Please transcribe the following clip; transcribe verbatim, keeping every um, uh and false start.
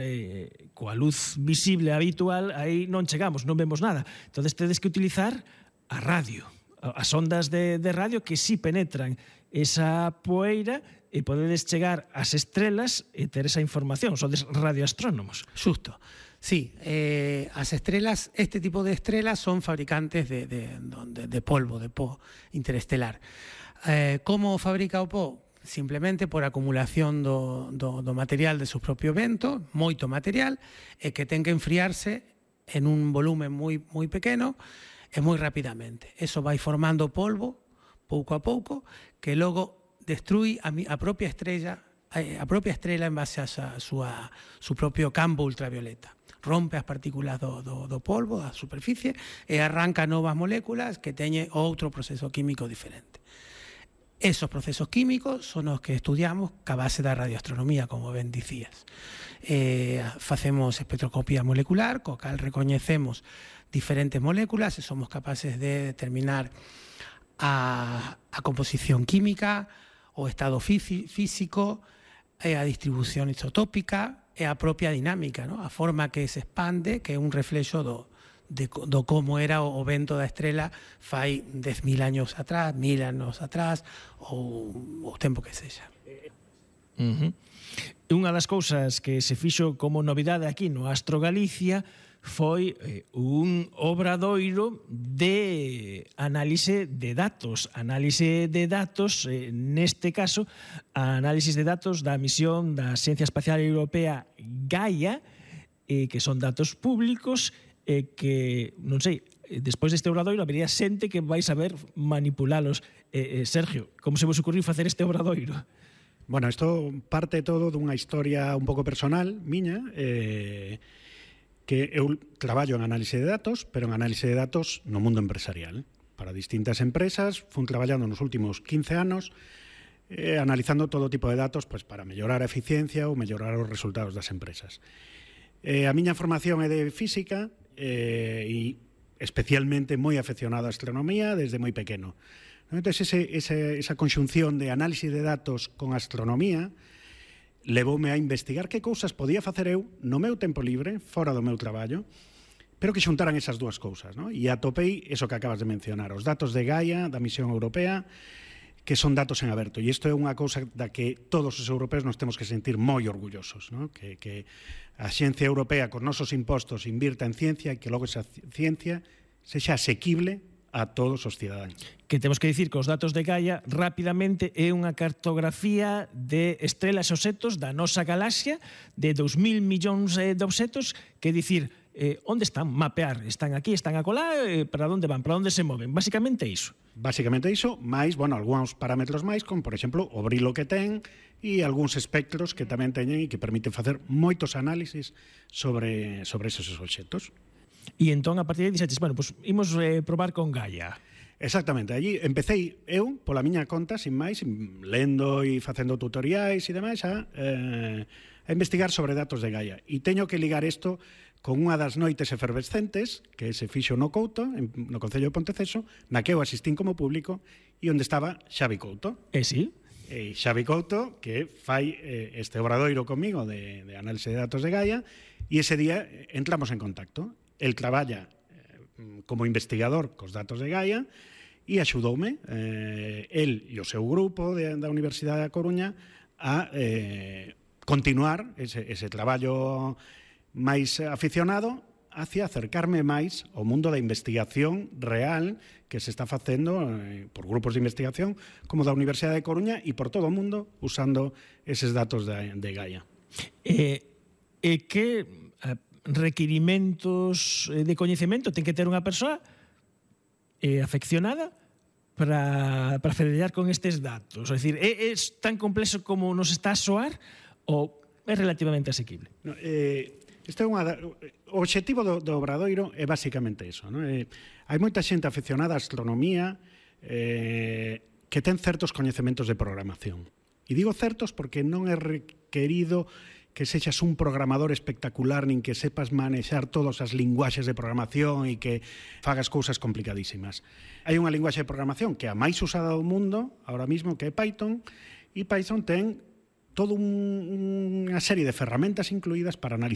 eh, coa luz visible habitual, aí non chegamos, non vemos nada. Entón, tedes que utilizar a radio, as ondas de, de radio que sí penetran esa poeira e podedes chegar ás estrelas e ter esa información. Sodes radioastrónomos. Xusto. Sí, eh, as estrelas, este tipo de estrelas son fabricantes de, de, de, de polvo, de po interestelar. Eh, como fabrica o po? Simplemente por acumulación do, do, do material de su propio vento, moito material, e que ten que enfriarse en un volumen moi, moi pequeno e moi rapidamente. Eso vai formando polvo, pouco a pouco, que logo destrui a, a propia estrella, a propia estrela en base a sa, súa, su propio campo ultravioleta. Rompe as partículas do, do, do polvo, da superficie, e arranca novas moléculas que teñen outro proceso químico diferente. Esos procesos químicos son os que estudiamos ca base da radioastronomía, como ben dicías. Eh, facemos espectroscopía molecular, co cal recoñecemos diferentes moléculas e somos capaces de determinar a, a composición química, o estado físico, e a distribución isotópica e a propia dinámica, ¿no? A forma que se expande, que é un reflexo do, de, do como era o vento da estrela fai dez mil años atrás, mil anos atrás, ou o tempo que sexa. Uh-huh. Unha das cousas que se fixo como novidade aquí no Astro Galicia foi eh, un obradoiro de análise de datos. Análise de datos, eh, neste caso, a análisis de datos da misión da Axencia Espacial Europea Gaia, eh, que son datos públicos, eh, que, non sei, despois deste obradoiro habería xente que vai saber manipulalos. Eh, eh, Sergio, como se vos ocurriu facer este obradoiro? Bueno, isto parte todo dunha historia un pouco personal, miña, eh, que eu traballo en análise de datos, pero en análise de datos no mundo empresarial. Para distintas empresas, fun traballando nos últimos quince anos, eh, analizando todo tipo de datos pues, para mellorar a eficiencia ou mellorar os resultados das empresas. Eh, a miña formación é de física eh, e especialmente moi afeccionado á astronomía desde moi pequeno. Entón, ese, ese, esa conxunción de análisis de datos con astronomía levoume a investigar que cousas podía facer eu no meu tempo libre, fora do meu traballo, pero que xuntaran esas dúas cousas, ¿no? E atopei eso que acabas de mencionar, os datos de Gaia, da misión europea, que son datos en aberto. E isto é unha cousa da que todos os europeos nos temos que sentir moi orgullosos, ¿no? Que, que a Xencia Europea, cos nosos impostos, invirta en ciencia e que logo esa ciencia sexa asequible a todos os cidadáns. Que temos que dicir que os datos de Gaia rapidamente é unha cartografía de estrelas e obxectos da nosa galaxia de dous mil millóns de obxectos, que dicir, eh, onde están? Mapear. Están aquí, están acolá, eh, para onde van, para onde se moven. Básicamente iso. Básicamente iso, máis, bueno, algúns parámetros máis, como, por exemplo, o brilo que ten e algúns espectros que tamén teñen e que permiten facer moitos análisis sobre, sobre esos obxectos. E entón, a partir de aí, dixetes, bueno, pues, imos eh, probar con Gaia. Exactamente, allí empecé eu, pola miña conta, sin máis, lendo e facendo tutoriais e demais, a, eh, a investigar sobre datos de Gaia. E teño que ligar isto con unha das noites efervescentes que se fixo no Couto, no Concello de Ponteceso, na que eu asistín como público, e onde estaba Xavi Couto. E sí? E Xavi Couto, que fai eh, este obradoiro comigo de, de análise de datos de Gaia, e ese día entramos en contacto. El traballa eh, como investigador cos datos de Gaia e axudoume, eh, el e o seu grupo de, da Universidade da Coruña a eh, continuar ese, ese traballo máis aficionado hacia acercarme máis ao mundo da investigación real que se está facendo eh, por grupos de investigación como da Universidade de Coruña e por todo o mundo usando eses datos de, de Gaia. E eh, eh, que... Eh, requirimentos de coñecemento ten que ter unha persoa eh, afeccionada para, para federar con estes datos? É dicir, é, é tan complexo como nos está a soar ou é relativamente asequible? No, eh, este é unha, o obxectivo do, do obradoiro é basicamente iso, ¿no? Eh, hai moita xente afeccionada á astronomía eh, que ten certos coñecementos de programación. E digo certos porque non é requerido que sexas un programador espectacular nin que sepas manexar todas as linguaxes de programación e que fagas cousas complicadísimas. Hai unha linguaxe de programación que é a máis usada do mundo ahora mismo, que é Python, e Python ten toda un, unha serie de ferramentas incluídas para analizar